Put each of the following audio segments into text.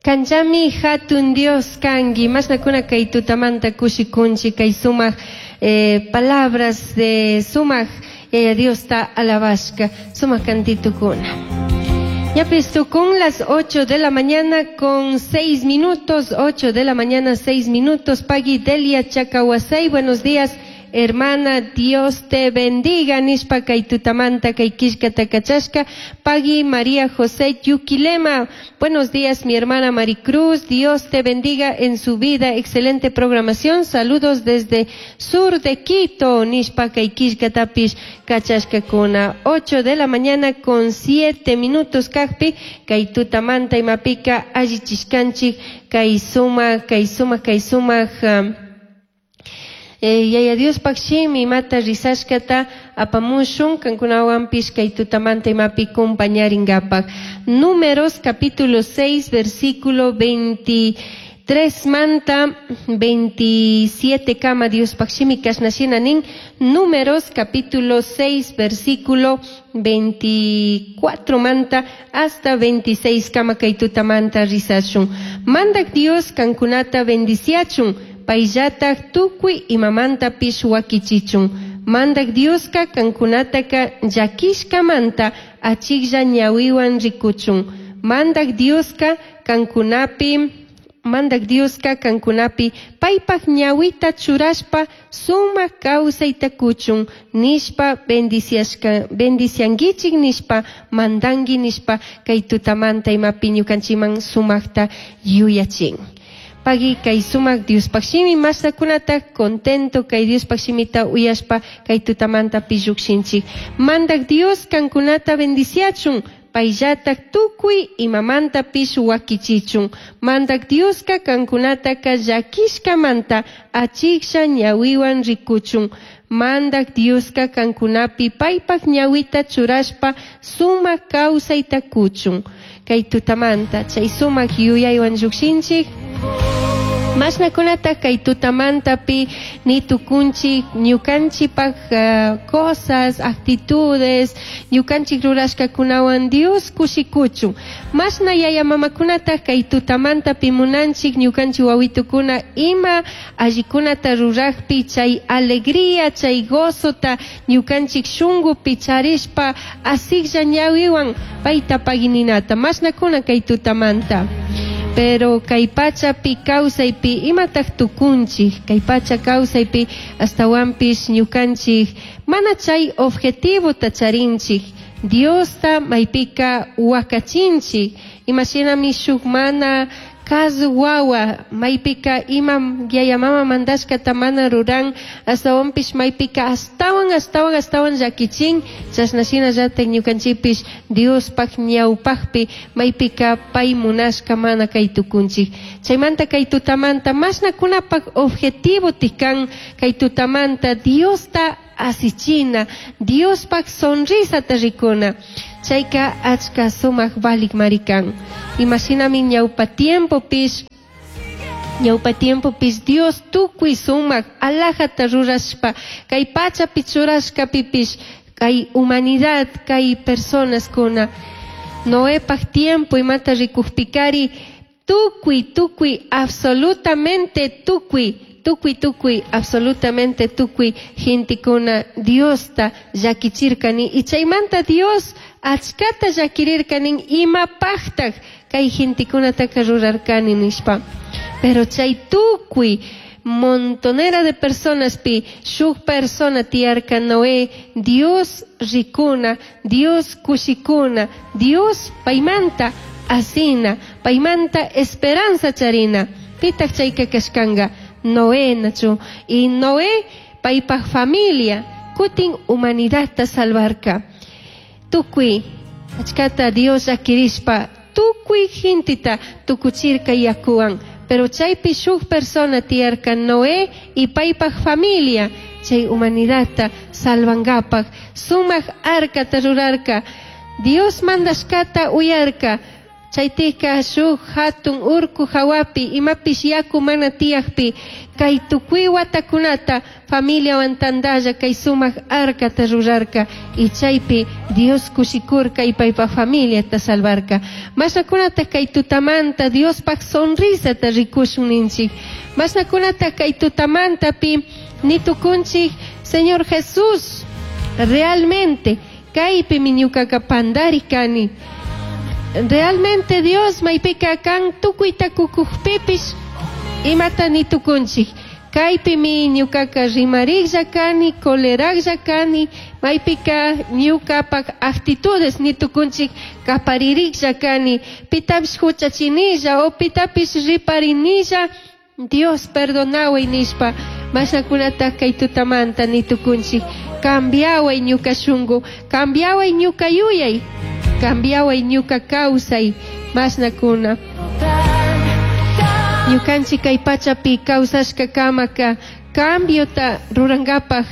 Kanllami hatun Dios kanki. Mashnakuna kay tutamanta kushikunchik kay sumak palabras de sumak Yaya Diosta alabashka sumak kantitukuna. Ñapis tukun las 8 de la mañana con 6 minutos, 8 de la mañana 6 minutos. Pagui Delia Chacahuasay, buenos días. Hermana, Dios te bendiga. Nishpa kay tutamanta kay killkata kachashka. Pagui María José Yuquilema. Buenos días, mi hermana Maricruz. Dios te bendiga en su vida. Excelente programación. Saludos desde sur de Quito. Nishpa kay killkatapish kachashka kuna. 8 de la mañana con 7 minutos kakpi. Kay tutamanta imapika allichishkanchik. Kay suma, kay suma, kay suma. Yaya Diospaj shimi imata rizashkata apamushun kankunawanpish kay tutamanta imapi compañaringapak. Números capítulo 6 versículo 23 manta 27 kama Diospaj shimi kashna shina nin. Números capítulo 6 versículo 24 manta hasta 26 kama kay tutamanta rizashun. Mandak Dios kankunata bendiciachun. Payllataj tukuy imamantapish wakichichun. Mandak Dioska kankunataka llakishkamanta achiklla ñawiwan rikuchun. Mandak Dioska kankunapi, Mandak Dioska kankunapi paypaj ñawita churashpa sumak kawsayta kuchun nishpa bendiciashka, bendicianguichik nishpa mandangi nishpa kay tutamanta imapi ñukanchiman sumakta yuyachin. Pagui kay sumak Diospaj shimi masnakunata contento kay Diospaj shimita uyashpa kay tutamanta pillukshinchik. Mandak Dios kankunata bendiciachun, payllatak tukuy imamanta pish wakichichun. Mandak Dioska kankunataka llakishkamanta achiksha ñawiwan rikuchun. Mandak Dioska kankunapi paypak ñawita churashpa sumak kawsayta kuchun. Kay tutamanta chay sumak yuyaywan llukshinchik. Mashnakunata kay tutamantapi ni tukunchik ñukanchikpak cosas, actitudes, ñukanchik rurashkakunawan Dios kushikuchun. Mashna yaya mamakunata kay tutamantapi munanchik ñukanchik wawitukuna ima allikunata rurajpi chay alegría, chay gozota ñukanchik shungupi charishpa asiklla ñawiwan payta pagininata. Mashnakuna kay tutamanta. Pero kay pachapi kawsaypi imataq tukunchik, kay pacha kawsaypi astawanpish ñukanchik mana chay objetivota charinchik, Diosta maypika wakachinchik, imashinami shuk mana kazu wawa maypika ima yaya mama mandashkata mana ruran, astawanpish maypika astawan, astawan, astawan llakichin, chashna shinallatak ñukanchikpish Diospaj ñawpajpi maypika pay munashka mana kay tukunchik. Chaymanta kay tutamanta mashnakunapak objetivo tikan kay tutamanta Diosta asichina, Diospaj sonrisata rikuna. Chayka achka sumak valik marikan. Imashinami ñawpa tiempopish, ñawpa tiempopish Dios tukuy sumak alajata rurashpa, kay pachapi churashkapipish, kay humanidad, kay personas kuna. Noepaj tiempo imata rikujpikari, tukuy, tukuy, absolutamente tukuy, tukuy, tukuy, absolutamente tukuy gentekuna Diosta llakichirkani. Y chaymanta Dios achkata llakirirkanin imapajtaj kay gentekunataka rurarkani nishpa. Pero chay tukuy montonera de personas pi shuk persona tiyarka Noé, Dios rikuna, Dios kushikuna, Dios paymanta asina, paymanta esperanza charina. Pitaq chayka kashkanga Noé nachu. Y Noé paypaj familia kutin humanidadta salvarka. Tukuy achkata Dios llakirishpa tukuy genteta tukuchirka yakuwan. Pero chaypi shuk persona tiyarka Noé y paypaj familia chay humanidadta salvangapaj sumak arcata rurarka. Dios mandashkata uyarka. Chaytika shuk hatun urku hawapi imapish yaku mana tiyakpi kay tukuy watakunata familiawan tantalla kay sumak arcata rurarka y chaypi Dios kushikurka y paypa familiata salvarka. Mashnakunata kay tutamanta Diospaq sonrisata rikushun ninchik. Mashnakunata kay tutamantapi nitukunchik Señor Jesús, realmente kaypimi ñukaka pandari kani. Realmente Dios maypika kan tukuyta kukukpipish imata nitukunchik. Kaypimi ñukaka rimariklla kani, coleraklla kani, maypika ñukapak actitudes nitukunchik kapaririklla kani, pitapish huchachinilla o pitapish riparinilla, Dios perdonaway nishpa, mashakunata kay tutamanta nitukunchik, cambiaway ñuka shunku, cambiaway ñuka yuyay, cambiaway ñuka kawsay, mashnakuna. Ñukanchik kay pachapi kawsashka kamaka cambiota rurankapaj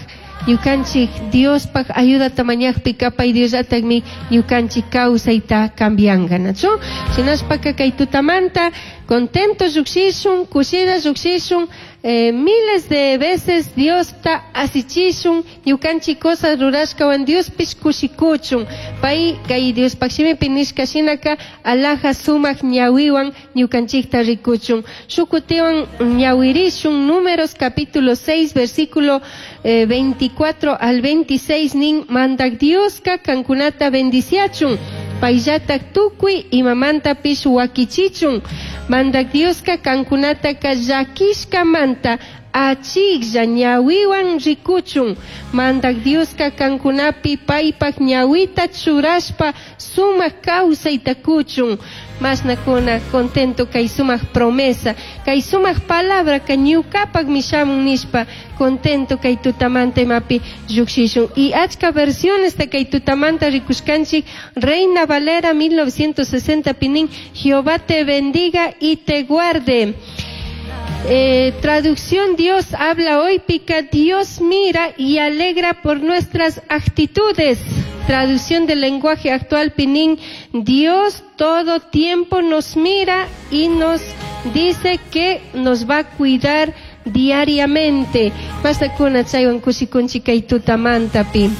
ñukanchik Diospaj ayudata mañakpi pay Diosllatakmi ñukanchik kawsayta cambianka, nachu? Shinashpaka kay tutamanta contento llukshishun, kushilla llukshishun, miles de veces Diosta asichishun, ñukanchik cosas rurashkawan Diospish kushikuchun. Pay kay Diospaj shimipi nishka shinaka alhaja sumak ñawiwan ñukanchikta rikuchun. Shukutiwan ñawirishun Números capítulo 6 versículo 24 al 26 nin mandak Dioska kankunata bendiciachun. Payllatak tukuy imamantapish wakichichun. Mandak Dioska kankunataka llakishkamanta achiklla ñawiwan rikuchun. Mandak Dioska kankunapi paypak ñawita churashpa sumak kawsayta kuchun. Mashnakuna contento kay sumak promesa, kay sumak palabra ka ñukapak mishamun nishpa contento kay tutamanta imapi llukshishun. Y achka versiones de kay tutamanta rikushkanchik Reina Valera 1960 pinin Jehová te bendiga y te guarde. Traducción Dios habla hoy pica Dios mira y alegra por nuestras actitudes. Traducción del lenguaje actual pinín Dios todo tiempo nos mira y nos dice que nos va a cuidar diariamente. Mastakuna chaywan kushikunchik kay tutamantapi.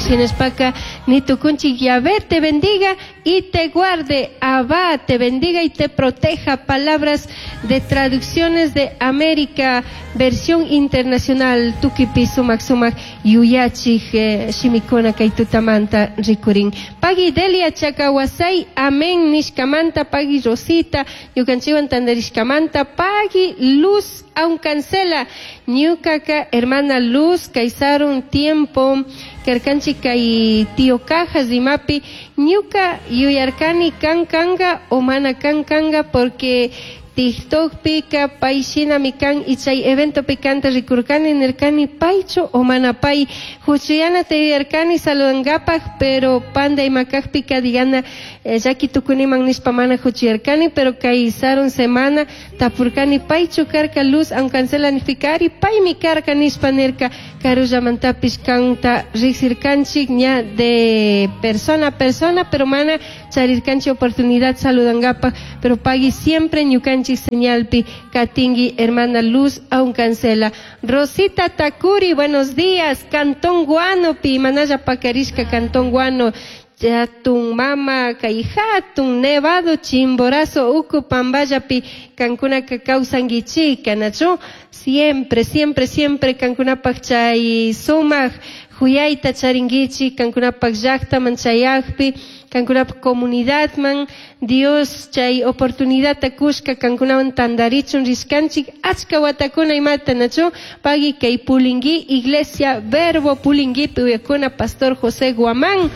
Shinashpaka nitukunchik Yahvé te bendiga y te guarde. Abba te bendiga y te proteja. Palabras de traducciones de América, versión internacional. Tukipi sumak sumak yuyachik shimikuna kay tutamanta rikurin. Pagui Delia Chakawasay, amén nishkamanta, pagui Rosita, ñukanchiwan tandarishkamanta, pagui Luz Aucancela, ñukaka hermana Luz, kaisarun tiempo, karkanchik kay tío Cajas rimapi, ñuka yuyarkani kan kanga o mana kan kanga porque TikTok pika pay shinami kan y chay evento picante rikurkani nirkani paychu o mana pay huchuyana te yuyarkani saludankapaj pero panda imakajpika digana llaki tukuniman nishpa mana huchuyarkani pero kay sarun semana tapurkani paychu karka Luz Aucancela nijpika ari paymi karka nishpa nirka karullamantapish kanta riksirkanchik ña de persona a persona pero mana charirkanchik oportunidad saludankapaj pero pagui siempre ñukanchik señalpi katingui hermana Luz Aucancela. Rosita Takuri, buenos días. Cantón Guano, pi manaya pakarishka Cantón Guano. Jatun mama kay hatun nevado Chimborazo uku pamballapi kankunaka kawsankichika nachu siempre siempre siempre kankunapak chay sumak huyayta charinkichik kankunapak llaktaman chayakpi kankunapak comunidadman Dios chay oportunidadta kushka kankunawan tantarichun rishkanchik achka watakuna imata nachu pagui kay Pulingui Iglesia Verbo Pulinguipi uyakuna Pastor José Guamán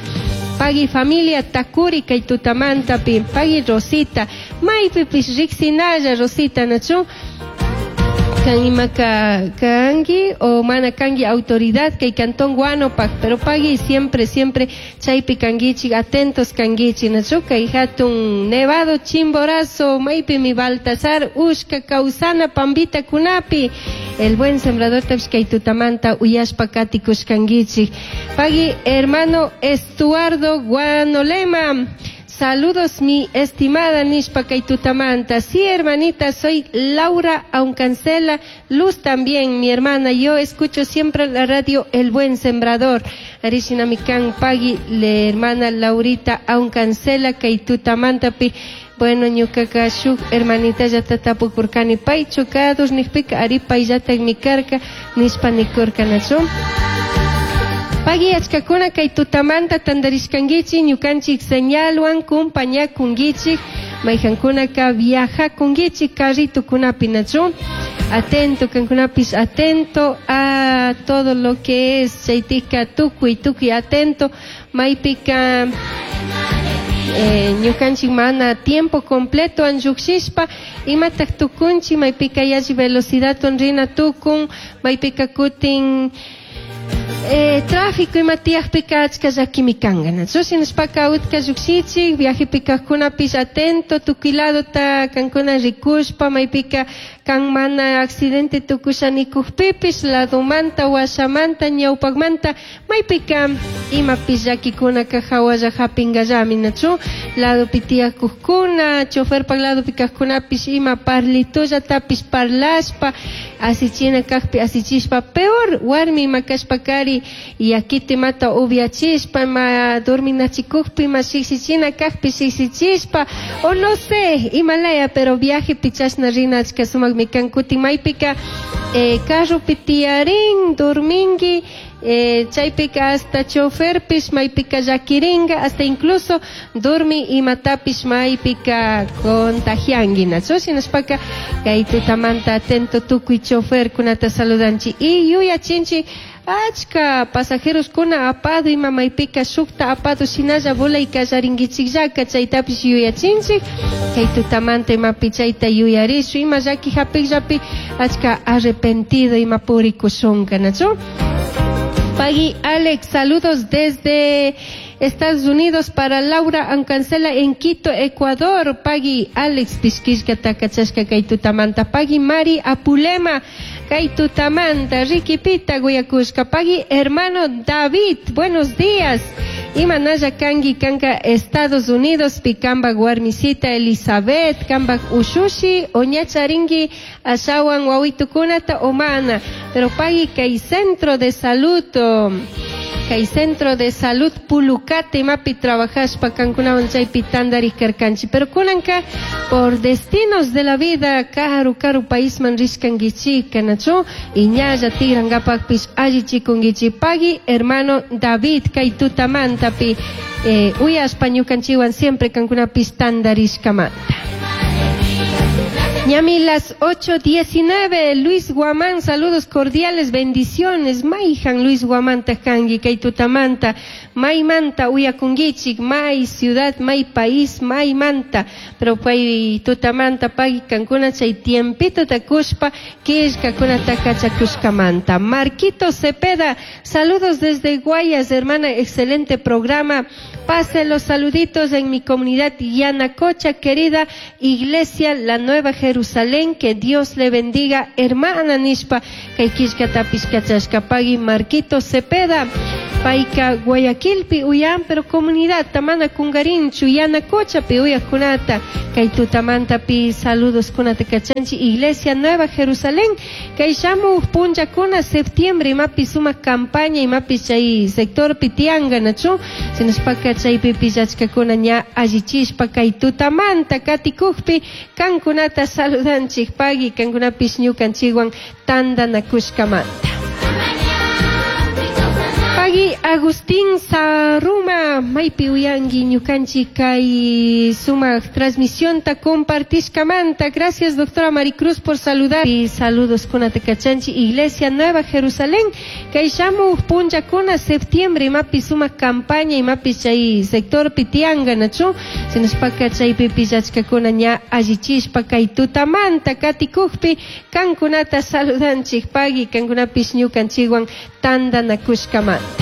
pagui familia Takuri kay tutamantapi pagui Rosita maypipish riksinalla Rosita nachu kan imaka kanki o mana kanki autoridad kay Cantón Guano pak pero pagui siempre siempre chaypi kankichik atentos kankichik nachu kay hatun nevado Chimborazo maypi mi Baltasar ushka kawsana pambita kunapi el buen sembrador tapish kay tutamanta uyashpa katikushkankichik pagui hermano Estuardo Guanolema. Saludos mi estimada nishpa kay tutamanta. Sí, hermanita, soy Laura Aucancela. Luz también, mi hermana. Yo escucho siempre la radio El Buen Sembrador. Ari shinami kan pagui le hermana Laurita Aucancela kay tutamantapi. Bueno, ñucaca shuk hermanita llata tapukurkani paychu kados nijpika ari payllatakmi karka nishpa nikurka nachu. Pagui achkakuna kay tutamanta tantarishkankichik ñukanchik señalwan kumpañakunkichik mayjankunaka viajakunkichik carritukunapi nachu. Atento kankunapish atento a todo lo que es chaytika tukuy tukuy atento maypika ñukanchik mana tiempo completo lluqshishpa imatak tukunchik maypika yalli velocidadwan rina tukun maypika kutin tráfico ima tiyakpika achka llakimi kanka nachu shinashpaka utka llukshichik viajepi kajkunapish atento tukuy ladota kankuna rikushpa maypika kan mana accidente tukusha nikukpipish ladomanta washamanta ñawpakmanta maypika imapish llakikunaka hawalla hapingallami nachu ladopi tiyakukkuna choferpak ladopi kajkunapish ima parlitollatapish parlashpa asichina kakpi asichishpa peor warmi ima kashpakari yakita imata upiachishpa ima dorminachikukpi ima shikshichina kakpi shikshichishpa o no sé imalaya pero viajepi chashna rina achka sumakmi kan kutin maypika carropi tiyarin dorminki chaypika hasta choferpish maypika llakirinka hasta incluso dormi imatapish maypika contagianki nachu shinashpaka kay tutamanta atento tukuy choferkunata saludanchik y yuyachinchik achka pasajeroskuna apado ima maypika shukta apado shinalla volay kallarinkichikllaka chaytapish yuyachinchik kay tutamanta imapi chayta yuyarishun ima llaki hapikllapi achka arrepentido ima purikushunka nachu. Pagui Alex, saludos desde Estados Unidos para Laura Ancancela en Quito, Ecuador. Pagui Alex pishkishka takachashka kay tutamanta. Pagui Mari Apulema kay tutamanta. Ricky Pita guyakushka. Pagui hermano David, buenos días. Imanalla kanki kanka Estados Unidos pi kambak warmisita Elizabeth kambak ushushi o ñacharinki ashawan wawitukunata o mana. Pero pagui kay centro de salud kay centro de salud Pulucate imapi trabajashpa kankunawan chaypi tantarik karkanchik. Pero kunanka por destinos de la vida karu karu paisman rishkankichik nachu y ñalla tigrankapakpish allichikunkichik. Pagui hermano David kay tutamantapi uyashpa ñukanchikwan siempre kankunapish tantarishkamanta. Ñami las 8:19, Luis Guamán, saludos cordiales, bendiciones. Maijan Luis Guamán takangi, kay tutamanta, maymanta uyakunkichik, may ciudad, may país, maymanta. Pero pay tutamanta pagui kankuna chay tiempito takushpa, killkakunata kachakushkamanta. Marquito Cepeda, saludos desde Guayas, hermana, excelente programa. Pase los saluditos en mi comunidad Yanacocha, querida Iglesia La Nueva Jerusalén, que Dios le bendiga, hermana nishpa, kay killkatapish kachashka pagui Marquito Cepeda, payka Guayaquilpi uyan, pero comunidad tamana kungarinchu, Yanacochapi uyakunata, kay tutamantapi saludos kunata kachanchi, Iglesia Nueva Jerusalén, kay shamu punllakuna septiembre, imapi suma campaña, imapi chay sector pitianga, nachu, shinashpaka chaypi pillachkakuna ña allichishpa kay tutamanta katikukpi kankunata saludanchik pagui kankunapish ñukanchikwan tantanakushkamanta. Pagui Agustín Saruma, maypi uyanki ñukanchik kay sumak transmisionta compartishkamanta. Gracias doctora Maricruz por saludar. Y saludos kunata kachanchi Iglesia Nueva Jerusalén. Kay shamuj punllakuna septiembre imapi sumak campaña imapi chay sector pitianga nachu. Shinashpaka chaypi pillachkakuna ña allichishpa kay tutamanta katikukpi kankunata saludanchik pagui kankunapish ñukanchikwan tantanakushkamanta.